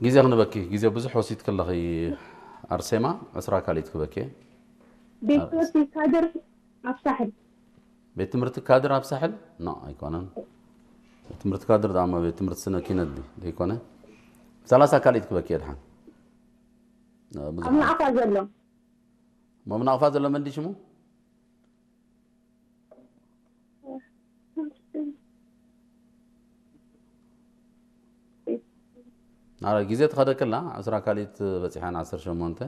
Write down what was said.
ግዜ ክንበኪ፣ ግዜ ብዙሕ ወሲድኪ ኣለኺ ኣርሴማ። ዕስራ ካልኢት ክበኪ። ቤት ትምህርቲ ካድር ኣብ ሳሕል። ቤት ትምህርቲ ካድር ኣብ ሳሕል? ኖ፣ ኣይኮነን። ቤት ትምህርቲ ካድር ዳማ ቤት ትምህርቲ ስነ ኪነት ድዩ? ዘይኮነ። ሰላሳ ካልኢት ክበኪ የድሓን። ብዙሕ ኣብ ናቕፋ ዘሎ። ሞም ናቕፋ ዘሎ መን ድዩ ሽሙ? ኣረ፣ ግዜ ትኸደክላ። ዕስራ ካልኢት በፂሓን፣ ዓሰርተ ሸሞንተ።